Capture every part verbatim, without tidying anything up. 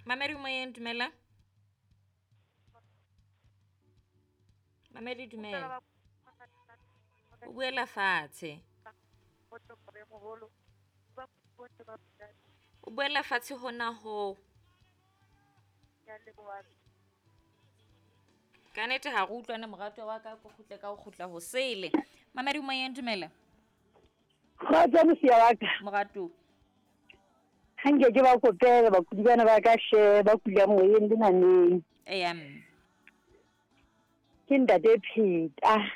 Mamedi moyeng, dumela. Mamedi, dumela. O buela fatshe. O buela fatshe hona ho. Ka nnete ha re utlwane morato wa ka, ko kgutle ka ho kgutla ho sele. Mamedi moyeng, dumela. Kgotso mosia wa ka. Morato. Ha nke ke ba kopela bakudi bana ba ka she ba kula moyeng le nameng. Eya mme. Ke ntate Pheta.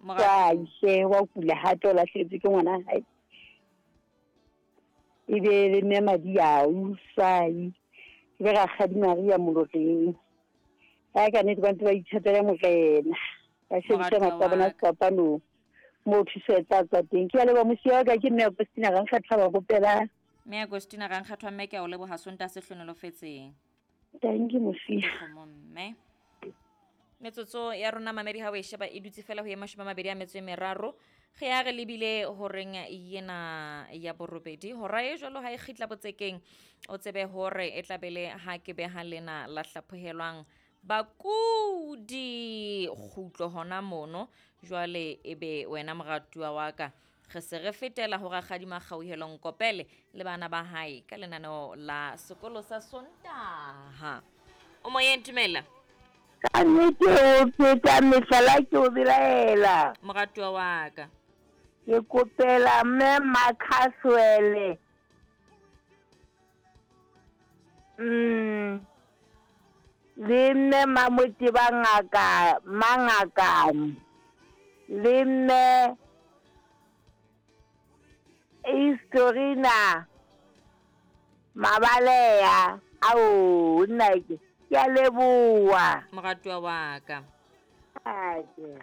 Morato. She wa kula hape o lahlehetswe ke ngwana hae. E be le mme Madiau Sai. E be rakgadi Maria Moloreng. Ha ka nnete ba ntse ba ithatela Morena. Ba shebisa Moratuwa matla a bona wa ka. sefapanong. Moo thuso e tla tswa teng. Ke a leboha mosia wa ka, ke mme Agostina Rankgatha ba kopela. Mme Agostina Rankgatha mme ke a o leboha Sontaha se hlonolofetseng. Thank you mosia. Kgomo mme. Metsotso ya rona mamedi ha o e sheba e dutse fela ho ye mashome a mabedi a metso e meraro. Ge ya re lebile horeng yena ya borobedi. Hora e jwalo ha e kgitla botsekeng, o tsebe hore e tla be le ha ke beha lena la hlaphohelwang bakudi kgutlo hona mono. Jwale ebe wena moratuwa wa ka, re se re fetela ho rakgadi Makgauhelo Nkopele le bana ba hae ka lenaneo la sekolo sa Sontaha. O moyeng, dumela. Ka nnete o pheta mehlala ke o belaela. Moratuwa wa ka. Ke kopela mme Makhaswele. Mm. Le mme Mamoteba ngaka, Mangakane. Le mme Istorina Mabalea. Ao, nna ke, ke a leboha. Moratuwa wa ka. Ake.